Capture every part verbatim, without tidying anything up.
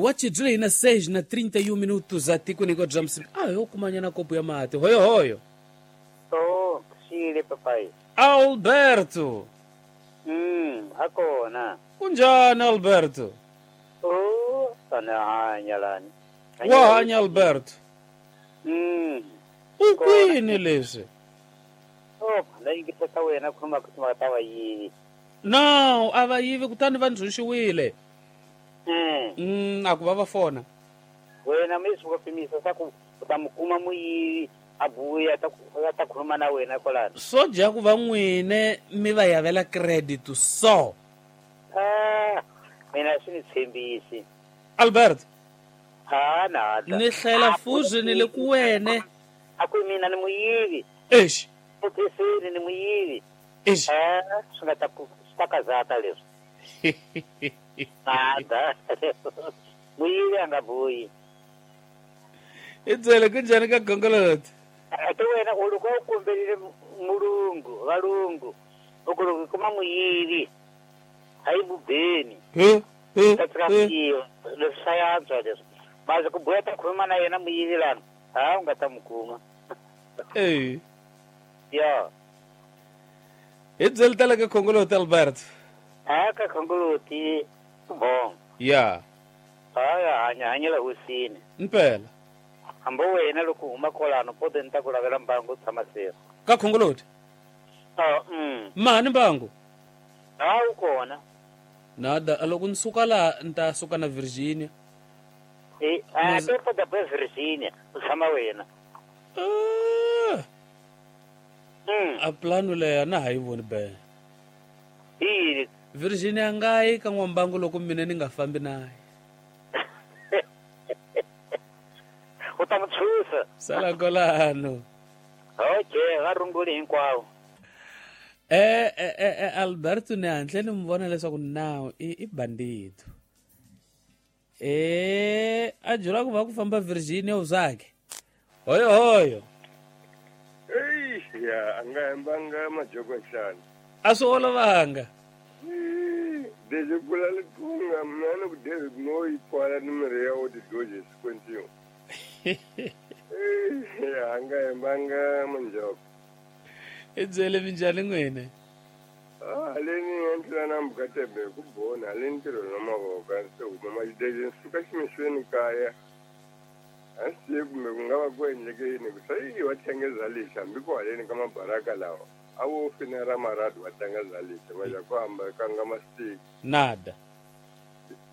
Wachi dzule na seis na trinta e um minutos atikweni kwa bya Msimba. Ah, yo kumanyana kopo ya mati. Hoyo hoyo. Oh, xile papai. Alberto. Mm, akona. Kunjani Alberto? Oh, sana hanya lani. Wa hanya Alberto. Mm. Ukwini leswi? Oh, la yingiseka wena khuluma ku ta va yivi. No, a va yivi kutani va ndzunxiwile. Mm. Mm, a ku va va fona. Wena mi swi pimisa sa ku u ta mu kuma muyivi a buya ta ta khuluma na wena kwalano. Swo dya ku va n'wine mi va yavela credit so. Ah, mina swi ni tshembisi. Albert. Ha na. Ni hlela fuzi ni le ku wene. A ku mina ni muyivi. Eish. Phisini ni muyivi. Eish. Eh, swi nga ta ku swi ta kazata leswi. Nada. Muyivi a nga buyi. I byele kunjhani ka gongoloti? Ate wena u loko u kombelile mulungu, valungu, u ku loko kuma muyivi a yi mubeni. He, he, Ta tshika he. ku yiva. Leswi swa yantswa leswi. Maze ku buya ta khuluma na yena muyivi lana, ha u nga ta mu kuma. Eh. Ya. Hi byele tala ka khongoloti Albert. A ka khongoloti bon. Ya. Ha ya hanya hanyela hosini. Mpela. Hambi wena loko u huma kwalano pote ni ta ku lavela mbangu u tshama seri. Ka khongoloti? Ah, mm. Mani mbangu? Ha wu kona. Nada, loko ni suka laha ni ta suka na Virginia. Eh, a te pota pa Virginia, u tshama wena. Ah. Mm. A plano leya na ha yi voni be. Yini? Virginia nga yi ka n'wambangu loko mina ni nga fambi naye. U ta mu tshusa. Sala kwalano. Okay, va runguli hinkwavo. Eh, eh, eh, eh, Alberto ni hantle ni mu vona leswaku now i, i bandito. Eh, a jura ku va ku famba Virginia uzake. Hoyo hoyo. Ei, ya, a nga hembanga majoko nhlana. A swi olovanga. Deje kula litunga mina ni ku David no yi pfala ni mirhi ya wo ti-dodges sequencing. Ei, ya, a nga hembanga manjoko. I byele minjhani n'wina? Ah, haleni endlela na mukatebe ku bona haleni ntirho na mavoko a se huma majideje ni suka ximixweni kaya. A swi tivi kumbe ku nga va ku endleke yini ku swa yi va tlangeza lexi hambi ku haleni ka mabaraka lawa a wo finera maradu va tlanga za lexi va ya ku hamba kanga masitiki. Nada.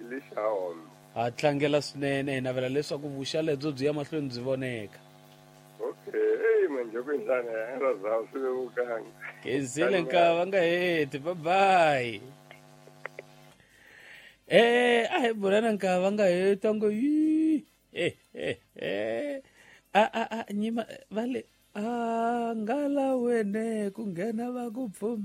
Lexi ha home. Ha tlangela swinene hi navela leswaku vuxa lebyo byi ya mahlweni byi voneka. Okay, hey manjoko njhani ya ra zawu swi vevukanga. Khensile nkava nga heti, bye bye. Eh, a hi bulana nkava nga heti ngo yi. Eh eh eh. A a a nyima vale a ngala wene ku nghena va ku pfumba.